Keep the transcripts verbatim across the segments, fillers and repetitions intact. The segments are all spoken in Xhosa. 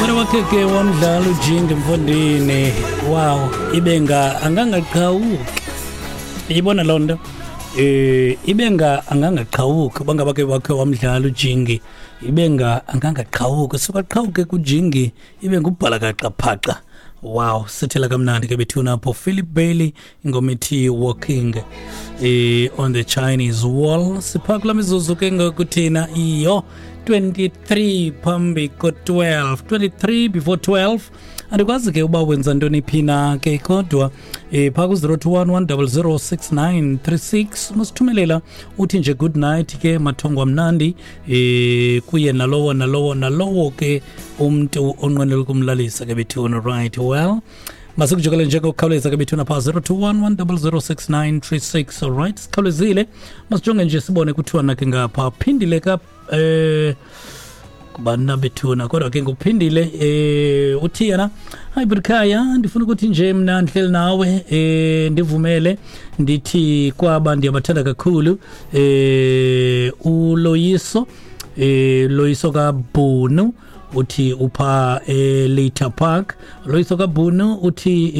Wena wakhe ke wamdlala ujingi mfondini. Wow, ibenga angangaqhawuki. Ibona loo nto. Eh ibenga angangaqhawuki bangaba ke wakhe wamdlala ujingi. Ibenga angangaqhawuki suka qhawuke kujingi ibe ngubhala kaqaphaqa. Wow, sithela kamnandi ke bethuna apho Philip Bailey ingoma ethi Walking eh on the Chinese Wall. Sipha kula mizuzu ke ngokuthina iyo twenty-three phambi ko twelve, twenty-three before twelve. Andikwazi ke uba wenza ntoni phi na ke kodwa eh pha ku zero two one one zero zero six nine three six musithumelela uthi nje good night ke mathongo amnandi eh kuye nalowo nalowo nalowo ke umuntu onqwenela ukumlalisa ke bethuna. Right, well masikujokele nje ngokukhawuleza ke bethuna pha zero two one one zero zero six nine three six. All right, sikhawulezile masijonge nje sibone kuthiwa na ke ngapha phindile ka eh kubana bethuna kodwa ke nguphindile eh uthi yena hayi Brikhaya ndifuna ukuthi nje mina ndihleli nawe eh ndivumele ndithi kwaba ndiyabathanda kakhulu eh uLoyiso eh Loyiso kaBhunu uthi upha eLater Park. Loyiso kaBhunu uthi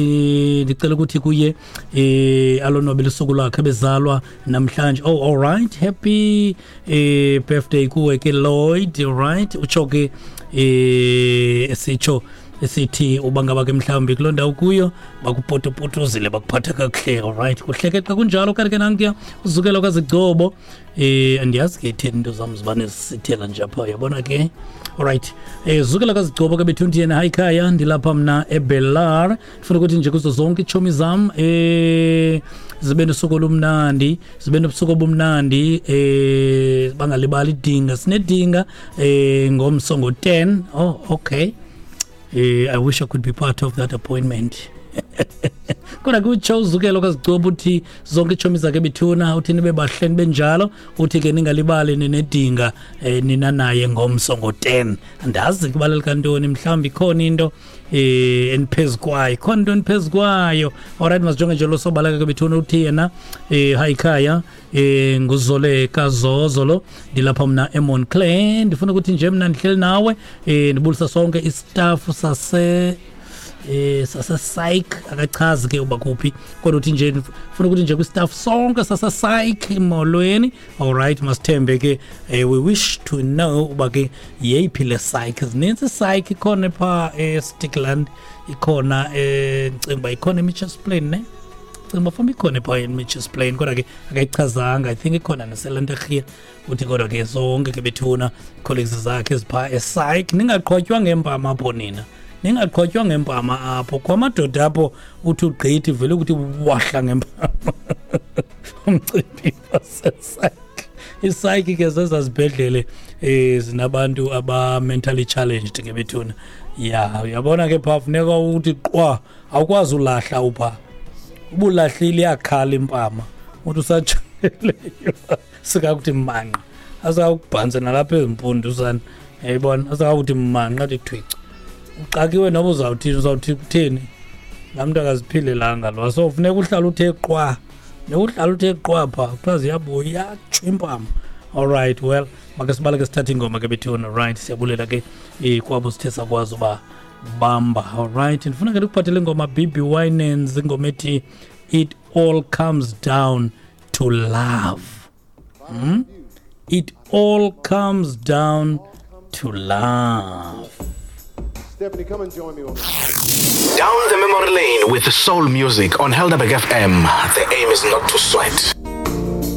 ndicela ukuthi kuye eh alonwabele usuku lwakhe bezalwa namhlanje. Oh, all right, happy eh birthday kuwe ke Lloyd. All right, utsho ke eh esitsho esithi ubangaba ke mhlawumbi kuloo ndawo kuyo bakupotopotozile bakuphatha kakuhle. All right, kuhleke xa kunjalo kanti ke nankuya uzukelo kaZigcobo eh andiyazi ke itheni into zam zibane zisithela nje apha uyabona ke. All right, eh zukela kaZigcobo ke bethunti yena hayi khaya ndilapha mna eBelar ndifuna ukuthi nje kuzo zonke iitshomi zam eh zibe nosuku olumnandi zibe nobusuku obumnandi eh bangalibali idinga sinedinga eh ngomso ngo ten. Oh, okay. Eh, I wish I could be part of that appointment. Kodwa kutsho uzukelo kaZigcobo uthi zonke iitshomi zakhe bethuna uthi nibe bahle nibenjalo uthi ke ningalibali ninedinga eh, nina naye ngomso ngo ten. Andazi kubaleka ntoni mhlawumbi ikhona into eh eniphezu kwayo ikhona into eniphezu kwayo. Alright, masijonge nje lo sobaleka ke bethuna uthi yena eh hayi khaya eh nguzole kaZozo lo ndilapha mna eMontclair ndifuna ukuthi nje mina ndihleli nawe eh ndibulisa sonke istaff sase eh sase psych akachazi ke uba kuphi kodwa uthi nje ufuna ukuthi nje kwistaff sonke sase psych molweni. All right, masithembe ke eh, we wish to know uba ke yeyiphi le psych. Zininzi psych ikhona pha eStickland ikhona eh ndicinga uba ikhona eMitchells Plain ne ndicinga uba ikhona pha eMitchells Plain kodwa ke akayichazanga. I think ikhona naseLanterhia uthi kodwa ke zonke ke bethuna colleagues zakhe ezipha e-psych ningaqhotywa ngempama apho nina ningaqhotywa ngempama apho kwamadoda apho uthi ugqithi vele ukuthi wahla ngempama umcimbi wasepsych. I-psych ke zezazibhedlele eh zinabantu aba mentally challenged ke bethuna. Ya uyabona ke pha funeka uthi qwa awukwazi ulahla upha ubulahlile iyakhala impama uthi usatsheleyo sikakuthi manqa asakubhanse nalapha ezimpundu sana yayibona asakakuthi manqa athi thwica uxakiwe noba uzawuthini uzawuthi kutheni laa mntu akaziphilelanga lo. So funeka uhlala uthe qwa nekuhlala uthe qwa pha kuthiwa ziyabuya iyatsho impama. All right, well make sibaleke sithathe ingoma ke bethuna. Right, siyabulela ke eh kwabo sithe sakwazi uba bamba. All right, ndifuna ke ndikuphathele ingoma B B Winans ingoma ethi It All Comes Down to Love. Hmm? It all comes down to love. Stephanie, come and join me on this. Down the memory lane with soul music on Helderberg F M. The aim is not to sweat.